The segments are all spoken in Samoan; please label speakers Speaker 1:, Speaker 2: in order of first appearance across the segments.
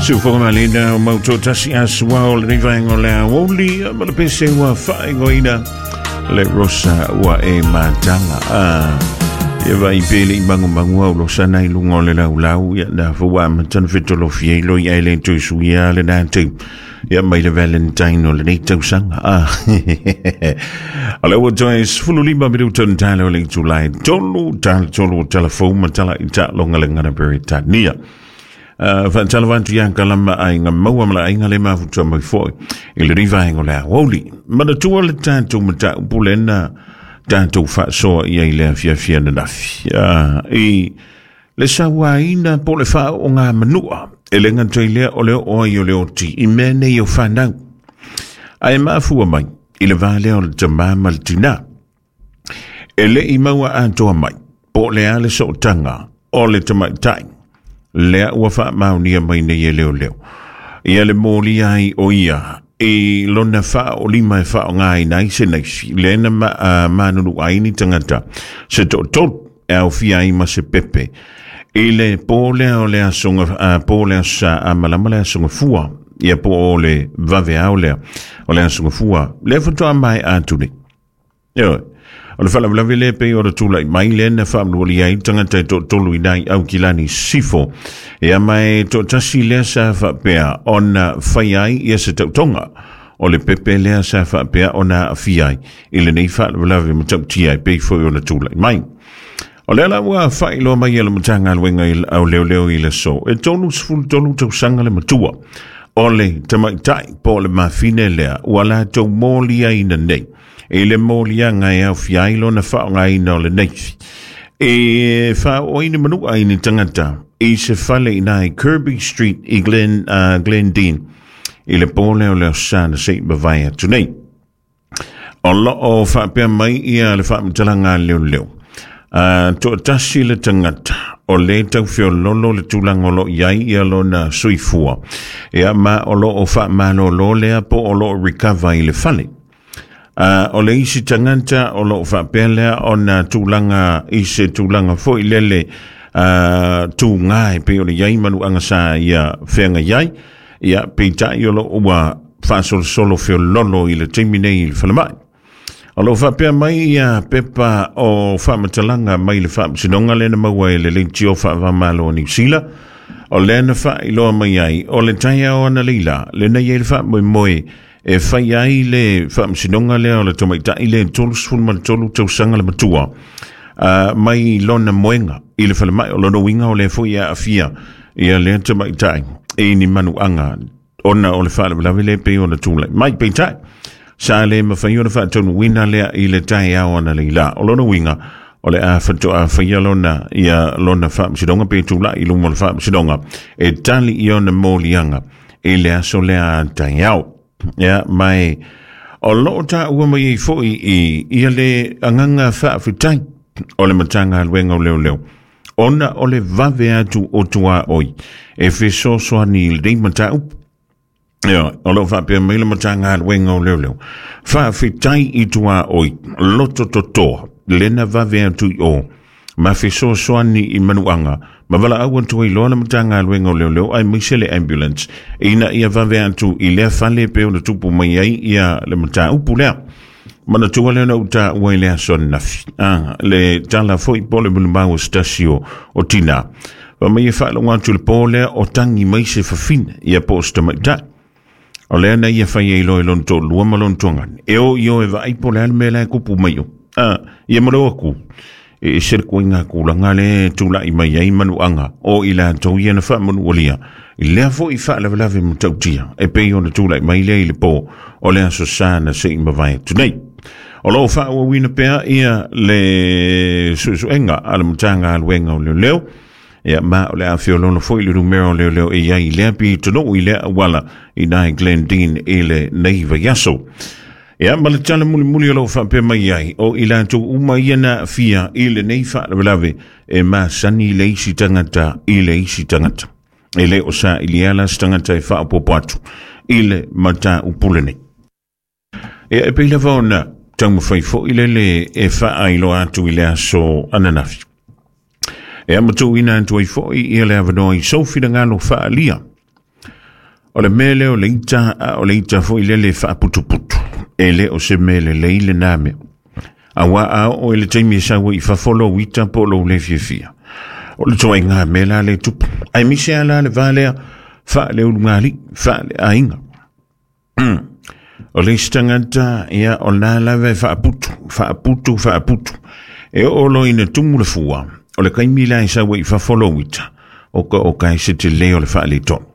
Speaker 1: Siufoga malina o mautoatasi aso o lenei vaega o le aoauli ma le pese ua faaigoaina le Rosa ua e mataga. Ia vai pe le i magumagu au losa nai luga o le laulau ia na fua amata na fetolofi ai loi ai le toe suia le na tau ia mai le Valentine o lenei tausaga. O le ua toe 15 minuta na tala o le itula e 3, tala tolu o tala fou ma tala i taaloga le gana Peretania. Faatalofa atu ia kalama aiga maua ma le aiga le mafuta mai foi i lenei vaega o le aoauli. Manatua le tatou mataupu lena tatou faasoa i ai le afiafi ananafi. I le sauaina po o le faaooga manua, e le gata i lea o le oo ai o le oti i mea nei o fanau. Ae mafua mai i le va lea o le tamā ma le tinā. E le i maua atoa mai po o le a le sootaga o le tamaitai lea ua faamaonia mai nei e leoleo. Ia le molia ai o ia i lona faaolima e faaaogaina ai se naifi lea na manunu ai ni tagata se toatolu e aofia ai ma se pepe i le po lea o le aso po o le aso Sa a malama le aso Gafua ia po o le vaveao lea o le aso Gafua lea faatoa maea atu nei. Ioe. O le faalavelave lea pei ona tulai mai lea na faamanualia ai le tagata e toatolu i nai Aukilani Sisifo. Ia ma e toatasi lea sa faapea ona fai ai ia se tautoga. O le pepe lea sa faapea ona aafia ai i lenei faalavelave matautia e pei foi ona tulai mai. O lea la ua faailoa mai e le Matagaluega o Leoleo i le aso e 33 tausaga le matua o le tamaitai po o le mafine lea ua latou moliaina nei i le moliaga e aofia ai lona faaaogaina o le naifi e faaoo ai ni manua i ni tagata i se fale i ina i Kirby Street i Glendene i le po lea o le Aso Sa na se i mavae atu nei. O lo o faapea mai ia le faamatalaga a leoleo. Toatasi le tagata o le tau feololo le tulaga o lo o i ai ia lona soifua. Ia ma o lo o faamalolo lea po o lo o recover i le fale. O le isi tagata o lo o faapea lea ona tulaga i se tulaga foi lele tūgā e pei ona i ai manuaga sa ia feagai ai. Ia, peitai o lo o ua faasolosolo feololo i le taimi nei i le falemai. O lo o faapea mai ia pepa o faamatalaga mai le Faamasinoga lea na maua e le Leitio Faava-o-Malo o Niu Sila, o lea na faailoa mai ai o le taeao analeila lena i ai le faamoemoe e fai ai le faamasinoga lea o le tamaitai lea 33 tausaga le matua mai lona moega i le falemai. O lona uiga o lea foi e aafia ia lea tamaitai i ni manuaga ona o le faalavelave lea pei ona tulai mai. Peitai, sa le mafai ona faataunuuina lea i le taeao analeila. O lona uiga, o le a faatoa faia lona, ia lona faamasinoga pe tulai i luma o le faamasinoga e tali i ona moliaga i le aso lea a taeao. Ia, mai o lo o taua mai ai foi i ia le agaga faafetai o le Matagaluega o Leoleo ona o le vave atu o tuaoi e fesoasoani i lenei mataupu. Ia, o lo o faapea mai le Matagaluega o Leoleo, faafetai i tuaoi loto totoa lena vave atu i o ma fesoasoani i manuaga ma valaau atu ai loa le Matagaluega o Leoleo aemaise le ambulance ina ia vave atu i lea fale pe ona tupu mai ai ia le mataupu lea. Manatua lea na ou taua i le aso ananafi. Le tala foi po o le mulumau o se tasi o tina. Fa mai e faalogo atu i le po lea o tangi mai se fafine ia po o se tamaitai. O lea na ia fai ai loa i lona toalua ma lona tuagane. E o i o e vaai po o le a le mea la e kupu mai o. Ia ma le o atu. E ese le koiga tulaga lea e tulai mai ai manuaga o i latou ia na faamanualia i lea foi faalavelave matautia e pei ona tulai mai lea i le po o le Aso Sa na se i mavae atu nei. O lo o faaauauina pea ia le suesuega a le Matagaluega o Leoleo, ia ma o le a feoloolo foi le numera o leoleo e i ai i lea pitonuu i lea auala i nai Glendene i lenei vaiaso. Ia, ma le tala mulimuli o lo o faapea mai ai, o i latou uma ia na aafia i lenei faalavelave e masani i le isi tagata i le isi tagata. E le o sailia la se tagata e faaopoopo atu i le mataupu lenei. Ia, e pei lava ona taumafai foi lele e faailoa atu i le aso ananafi. E amatuuina atu ai foi ia le avanoa i sou finagalo faaalia. O le mea lea o le ita, a o le ita foi lele e faaputuputu, e le o se mea lelei lena mea. Auā a oo i le taimi e sau ai i fafo lou ita po o lou le fiafia, o le ituaiga mea la lea e tupu. Aemaise lava la le va lea faaleulugalii, faaleaiga. O le isi tagata, ia, o lena lava e faaputu, faaputu, faaputu. E oo loa ina tumu le fua, o le taimi la e sau ai i fafo lou ita, oka oka e se tele o le faaletonu.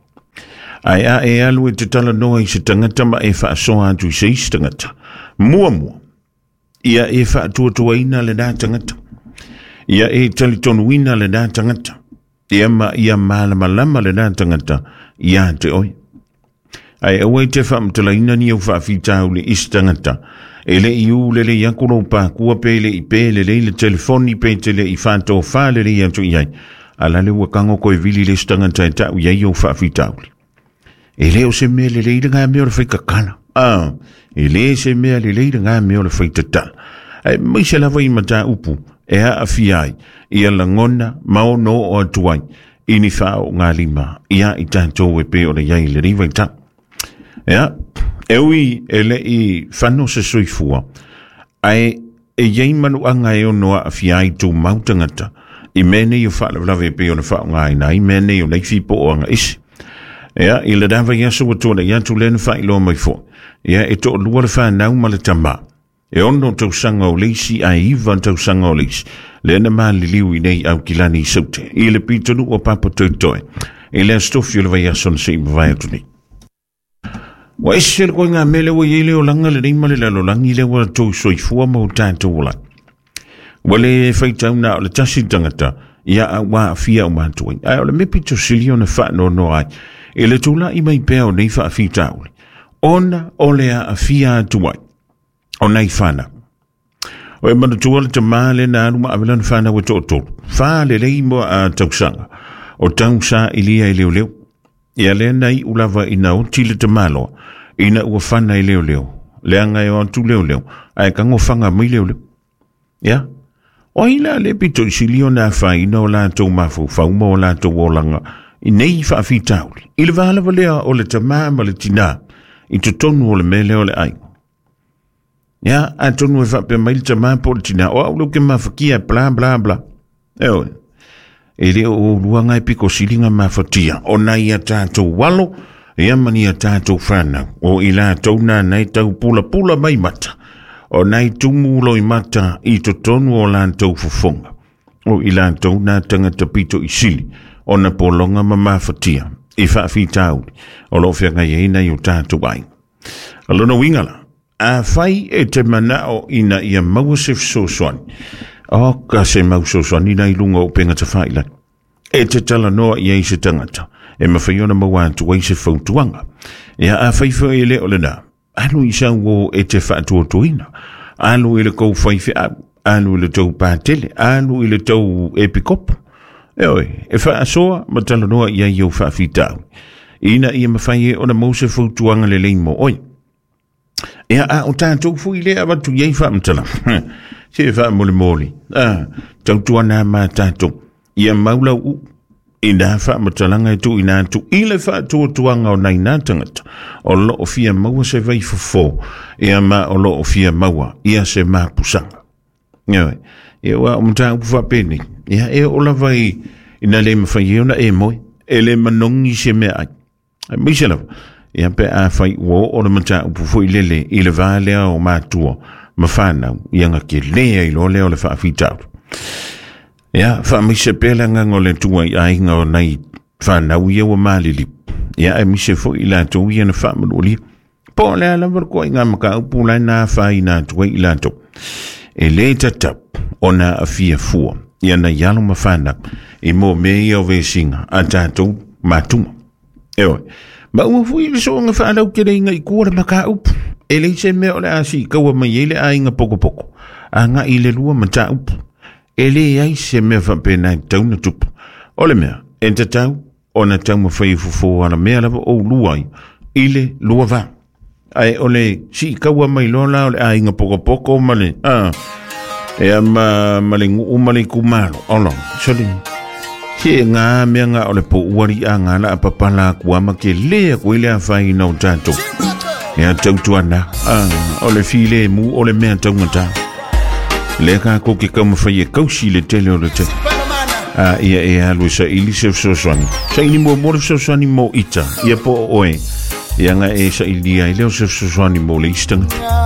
Speaker 1: Ae a e alu e te talanoa i se tagata ma e faasoa atu i se isi tagata, muamua, ia e faatuatuaina lena tagata. Ia e talitonuina lena tagata. Ia ma ia malamalama lena tagata ia te oe. Ae aua e te faamatalaina ni au faafitauli i se tagata e le i u lelei atu lou pakua pe le i pe lelei le telefoni pe te le i faatofā lelei atu i ai. A la le ua kago koe vili le isi tagata e tau i ai ou faafitauli. E le o se mea lelei lena mea o le faitatala. Ah, e le se mea lelei lena mea o le faitatala. Aemaise lava i mataupu e aafia ai ia lagona ma ono oo atu ai i ni faaoogalima iā i tatou e pei ona i ai i lenei vaitau. Ia, e ui e le i fano se soifua, ae e i ai manuaga e ono aafia ai tumau tagata i mea nei o faalavelave e pei ona faaaogaina ai mea nei o nei fipooaga ese. Ia, i lena vaiaso ua tuanai atu lea na faailoa mai foi, ia, e toalua le fanau ma le tama. E 6 tausaga o le isi ae 9 tausaga o le isi, lea na maliliu i nei Aukilani i Saute, i le pitonuu o Papatoetoe, i le aso tofi o le vaiaso na se i mavae atu nei. Ua ese le koiga mea lea ua i ai le olaga lenei ma le lalolagi lea ua tou soifua ma o tatou ola. Ua le faitau na o le tasi le tagata, ia a ua aafia uma atu ai. Ae o le mea pito sili ona faanoanoa ai, i le tulai mai pea o nei faafitauli, ona o le aafia atu ai o nai fanau. O e manatua le tamā lea na alu ma ave lana fanau e toatolu, fa lelei mo a tausaga, o tau sailia i leoleo. Ia lea na iu lava ina oti le tamaloa, ina ua fana i leoleo, leaga e o atu leoleo, ae tago faga mai leoleo. Ia, o ai la le pito i sili ona afaina o latou mafaufau ma o latou olaga i nei faafitauli, i le va lava lea o le tamā ma le tinā i totonu o le mea lea o le aiga. Ia, atonu e faapea mai le tamā po o le tinā, o au lea ou te mafatia, bla bla bla. Eoe, e le o oulua ngai piko sili na mafatia, o nai a tātou alo, ia ma ni a tātou whānau, o i lātou nā nei tau pulapula mai mata, o nai tumu loimata i totonu o lātou fofoga, o i lātou nā tangata pito i sili, o na pologa ma mafatia, i faafitauli, o lo o feagai ai nai o tātou aiga. O lona uiga la, afai e te manao ina ia maua se fesoasoani, oka se mau fesoasoani la i luga o upega tafailagi. E te talanoa i ai se tagata, e mafai ona maua atu ai se fautuaga. Ia, afai foi e le o lena, alu i sau uo e te faatuatuaina, alu i le tou faifeau, alu i le tou patele, alu i le tou epikopo. Eoe, e faasoa ma talanoa i ai i ou faafitauli, ina ia mafai e ona maua se fautuaga lelei mo oe. Ia, a o tatou foi lea avatu i ai faamatalaga, se faamolemole, a, tautuana ma tatou, ia mau lau uu, i nā faamatalaga e tuuina atu i le faatuatuaga o nai nā tagata o lo o fia maua se vaifofo, ia ma o lo o fia maua ia se mapusaga. Ioe, ia ua o mataupu faapenei, ia e oo lava i, ina le mafai ai ona e moe, e le manogi se meaai. Aemaise lava, ia pe afai ua oo le mataupu foi lele i le va lea o matua ma fanau, ia na tele ai loa lea o le faafitauli. Ia, faamaise pea le agaga o le Atua i aiga o nai fanau ia ua maliliu. Ia, aemaise foi i latou ia na faamanualia. Po o le a lava le koaiga mataupu la e na afaina atu ai i latou. E le tatau ona aafia fua ia nai alo ma fanau i mea mea ia o vesiga a tatou mātua. Eoe, ma ua foi le soonga faalauteleina i tua le mataupu. E leai se mea o le a siikaua mai ai le aiga pokopoko agai i le lua mataupu. E leai se mea faapena e tatau ona tupu. O le mea, e tatau ona taumafai e fofo alamea lava oulua ai i le lua va. Ae o le siikaua mai loa la o le aiga pokopoko ma le, a, ea ma, ma le nuu ma le itumalo. Olo, sole. Ke ngā mea ngā o le po uari a ngā la papala kua ma ke lea koe le awhai nau tātou. Ia tautuana, o le file mu o le mea taungata. Le ka ko ke kaumawhai e kausi le tele o le te. A ia e alu sa ili se fesoasoani. Sa ili mo mo le fesoasoani mo ita. Ia po o oe. Ia nga e sa ili ai leo se fesoasoani mo le istanga.